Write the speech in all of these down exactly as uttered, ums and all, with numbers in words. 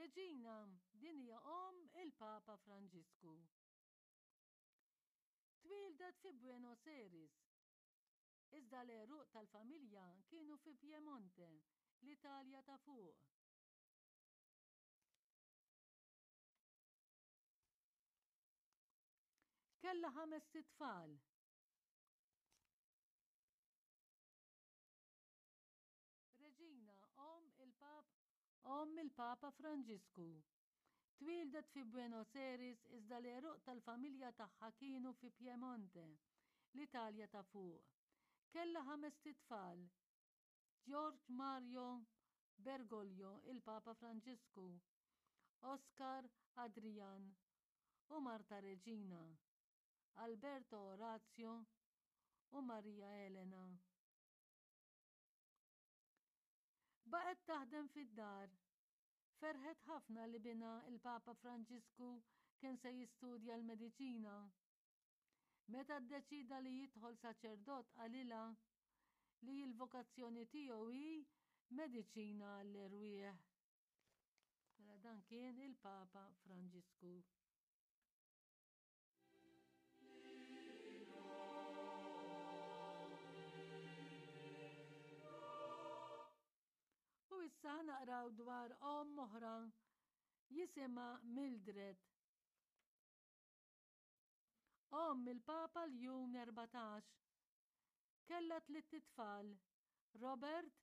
Reġina, din hija omm il-Papa Franġisku. Twieldet fi Buenos Aires. Iżda l-għeruq tal-familja kienu fi Piemonte, l-Italja ta' fuq. Kellha ħamest itfal. Reġina, omm il-Pap omm il-Papa Franġisku. Twieldet fi Buenos Aires iżda l-għeruq tal-familja tagħha kienu fi Piemonte, l-Italja ta' fuq. Kellha ħamest itfal. George Mario Bergoglio, il-Papa Franġisku, Oscar Adrian u Marta Reġina, Alberto Orazio u Maria Elena. Baqgħet taħdem fid-dar. Ferħet ħafna li binha il-Papa Franġisku kien se jistudja l-mediċina. Meta ddeċida li jidħol saċerdot qalilha li l-vokazzjoni tiegħu hi mediċina għall-erwieħ. Mela dan kien il-Papa Franġisku. U issa naqraw dwar omm oħra jisimha Mildred. Omm il-Papa Ljun erbatax. Kellha tlitt itfal, Robert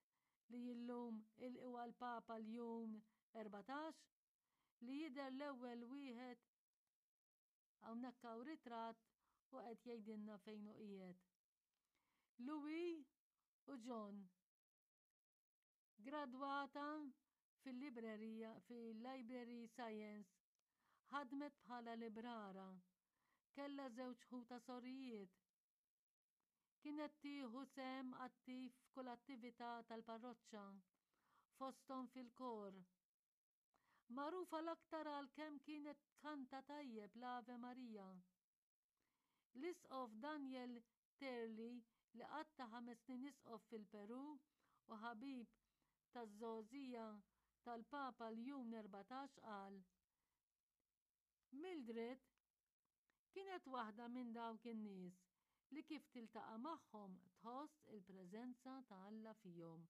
li illum huwa l-Papa Ljun erbatax, li jidher l-ewwel wieħed hawnhekk hawn ritratt u qed jgħidilna fejn hu qiegħed. Louis u John. Gradwata fil-librerija fil-Library Science, ħadmet bħala librara. Kellha żewġ ħuta sorijiet. Kienet tieħu sehem attiv f'kull attività tal-parroċċa, fosthom fil-kor. Magħrufa l-aktar għal kemm kienet tkanta tajjeb l-Ave Maria. L-Isqof Daniel Terli li qatta' ħames snin isqof fil-Peru u ħabib taż-żgħożija tal-Papa Ljun erbatax qal, Mildred kienet waħda minn dawk in-nies li kif tiltaqa' magħhom tħoss il-preżenza ta' Alla fihom.